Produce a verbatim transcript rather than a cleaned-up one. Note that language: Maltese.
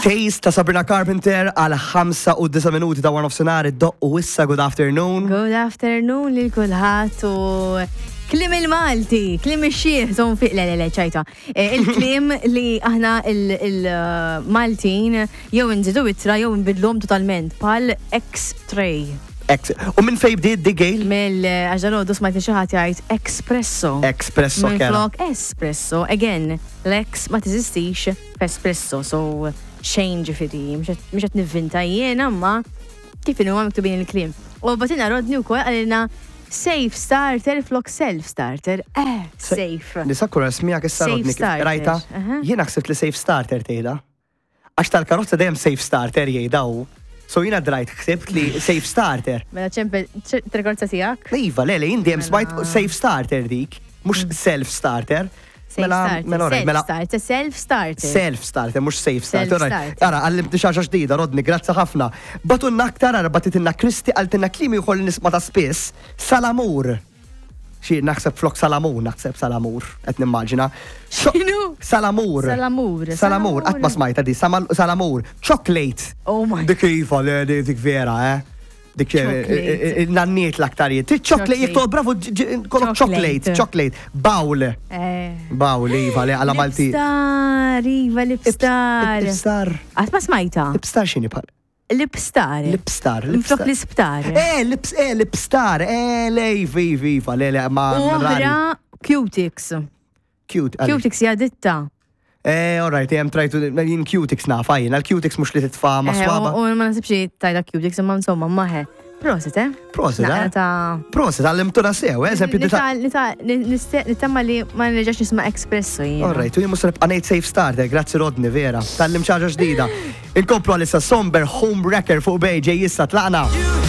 Taste ta' Sabrina Carpenter għal ħamsa u disa' minuti ta' wara nofsinhar id-doq u issa good afternoon. Good afternoon lil kulħadd u kliem il-Malti, kliem ix-xiħ, zon fi, le, le, le, ċajta. Eh, Il-kliem li aħna il-Maltin jew nżidu ittra jew nbidlhom totalment bħal X-tray. Ex. U minn fej bdiet di, Gail? Mill għax dalgħodu smajt xi ħadd jgħid espresso. Espresso Minn kera. flok espresso. Again, l-ex ma teżistix f'espresso, so xejn ġifieri, mhux qed nivvinta jiena, ma kif inhu miktubin il-kliem. U bagħtilna Rodney wkoll, qalilna safe starter flok self starter. Eh, safe. Nisakkura smijak issa Safe Rodney kif starter, rajta. aha. Jiena ħsibt li safe starter tgħidha. Għax tal-karozza dejjem safe starter jgħidaw. So jiena drajt ħsibt li safe starter. Mela ċempel tal-karozza tiegħek. Iva, le, le, jien dejjem smajt Mela. safe starter dik, mhux self starter. Safe Mela, starter. mela, alright, mela, Self starter, self starter. Self starter, mhux safe starter. Alright. Self-starter. Ara, għallimtni xi ħaġa ġdida, Rodney, grazzi ħafna. Bagħtulna aktar, ara, bagħtitilna Kristi, qaltilna kliem ieħor li nisma' ta' spiss, salamur. Xi naħseb flok salamun, naħseb salamur, qed nimmaġina. X'inhu? Salamur. Salamur. Salamur, qatt ma smajta di, samal- salamur. Chocolate. Oh my. Dik iva, le, dik dik vera, eh. Dik eh, Chocolate. eh, nanniet l-aktarijiet. Chocolate, jek Chocolate. bravo, ġ- ġ- kollok chocolate, Chocolate. chocolate. Bowl. Eh. Bowl, iva, le, għala Malti. Lipstar, iva, lipstar. Lipstar. Qatt ma smajta. Lipstar x'inhi bħal? Lipstar. Lipstar. Flok Lipstar. l-isptar. Eh, lips, eh, lipstar. Eh, le, iva, iva, iva, le, le, ma. U rari. oħra Cutix. Cute. għalix. Cutix hija ditta. Eh, all right, jem trajtu, jien Cutix nafa, jien, għal-Cutix mhux li titfa ma Eh, swaba. U u ma nasibx li tajda Cutix, imma insomma, maħe. Prosit, eh? Prosit, Naqra eh? ta' Prosit, għallimtuna sew, eh, eżempju, dita. Nita- nita- niste- Nittama li ma nerġax nisma' espresso jien. All right, u jien mhux nibqa' ngħid safe starter, grazzi Rodney, vera. Tgħallimt xi ħaġa ġdida. Inkomplu għalissa Somber Home Wrecker fuq B J issa tlaqna.